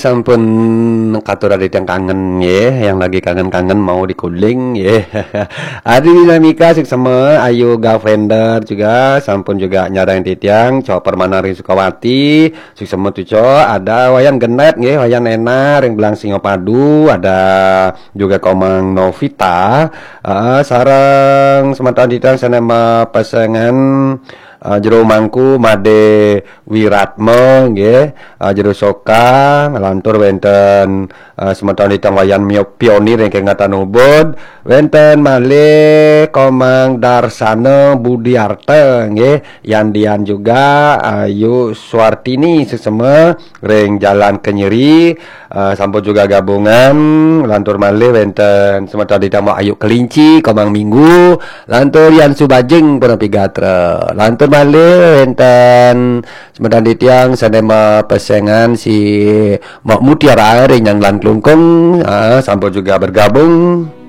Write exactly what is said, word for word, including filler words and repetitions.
Sampun katur adi tiyang kangen nggih, yang lagi kangen-kangen mau dikuling nggih. Adi Dinamika suksma, Ayu Gavender juga, sampun juga nyarengin titiang, Cok Permana ring Sukawati, suksma tu Cok, ada Wayan Genet nggih, Wayan Ena ring Belang Singapadu, ada juga Komang Novita, eh, sareng semeton titiang sane mapesengan, eh, Jero Mangku Made Wiratma nggih, eh, Jero Soka, lantur wenten, eh, semeton titiang Wayan Mio-, Pionir ingkang ngatan ubud, wenten malih Komang Darsana Budiarta nggih, Yandian juga Ayu Suartini suksma ring Jalan Kenyeri, eh, sampun juga gabungan, lantur malih wenten semeton titiang Ayu Kelinci, Komang Minggu, lantur Yan Subajing punapi gatra. Lantur malih wenten semeton titiang sane mapesengan si Mok Mutiara ring Nyanglan Klungkung, ah, sampun juga bergabung.